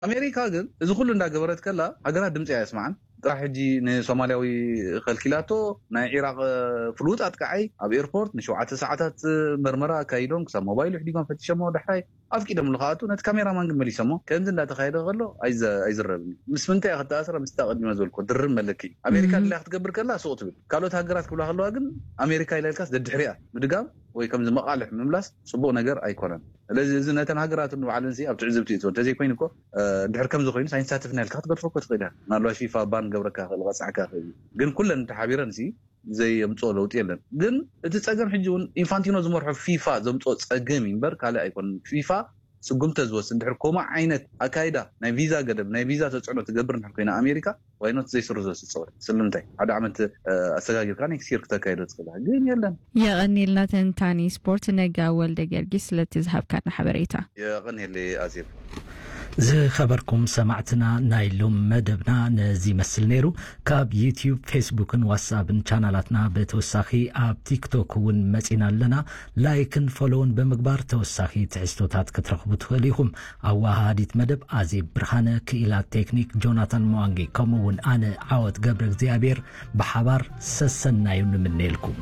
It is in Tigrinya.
ኣሜሪካ ግን እዚ ኩሉ እንዳገበረት ከላ ሃገራት ድምፂ ኣየስማዓን። ጥራሕ ሕጂ ንሶማልያዊ ከልኪላቶ፣ ናይ ኢራቅ ፍሉጥ ኣጥቃዓይ ኣብ ኤርፖርት ንሸውዓተ ሰዓታት መርመራ ኣካይዶም፣ ክሳብ ሞባይሉ ሕዲጎም ፈቲሸሞ፣ ዳሕራይ ኣፍቂዶም ልካኣቱ። ነቲ ካሜራማን ግን መሊሰሞ። ከምዚ እንዳተካየደ ከሎ ኣይዘ- ኣይዝረብን እዩ። ምስ ምንታይ እያ ክተኣስረ? ምስታ ቅድሚ ዝበልኩ ድርብ መለኪ። ኣሜሪካ ድላያ ክትገብር ከላ ስቕ ትብል። ካልኦት ሃገራት ክብላ ከለዋ ግን ኣሜሪካ ኢላ ኢልካስ ደድሕሪኣ ምድጋም ወይ ከምዚ መቓልሕ ምምላስ ጽቡቕ ነገር ኣይኮነን። ስለዚ እዚ ነተን ሃገራት ንባዕለን ሲ ኣብ ትዕዝብቲ እትወን እንተዘይኮይኑ እኮ፣ ድሕር ከምዚ ኮይኑ ሳይንሳትፍና ኢልካ ክትገድፎ እኮ ትኽእል እያ። ምናልባት ፊፋ ባን ገብረካ ክእል ቀፃዕካ ክእል እዩ። ግን ኩለን ተሓቢረን ሲ ዘየምፅኦ ለውጢ የለን። ግን እቲ ፀገም ሕጂ እውን ኢንፋንቲኖ ዝመርሖ ፊፋ ዘምፅኦ ፀገም እዩ እምበር ካልእ ኣይኮነን። ፊፋ ስጉምተ ዝወስድ ድሕር ከምኡ ዓይነት ኣካይዳ ናይ ቪዛ ገደብ ናይ ቪዛ ተፅዕኖ ትገብር እንድሕር ኮይና ኣሜሪካ ዋይኖት ዘይስርዞ ስፅወት ስለምንታይ ሓደ ዓመት ኣሰጋጊርካ ኔክስት ይር ክተካይዶ ትኽእላ ግን የለን። የቐኒልና ተንታኒ ስፖርት ነጋ ወልደ ጊዮርጊስ ስለቲ ዝሃብካና ሓበሬታ። የቐኒየለይ ኣዜብ። ዝኸበርኩም ሰማዕትና ናይ ሎም መደብና ነዚ ይመስል ነይሩ። ካብ ዩትዩብ፣ ፌስቡክን ዋትስኣፕን ቻናላትና ብተወሳኺ ኣብ ቲክቶክ እውን መፂና ኣለና። ላይክን ፎሎውን ብምግባር ተወሳኺ ትሕዝቶታት ክትረኽቡ ትኽእሉ ኢኹም። ኣዋሃሃዲት መደብ ኣዜብ ብርሃነ፣ ክኢላት ቴክኒክ ጆናታን መዋንጊ፣ ከምኡ እውን ኣነ ዓወት ገብረ እግዚኣብሔር ብሓባር ሰሰናዩ ንምነየልኩም።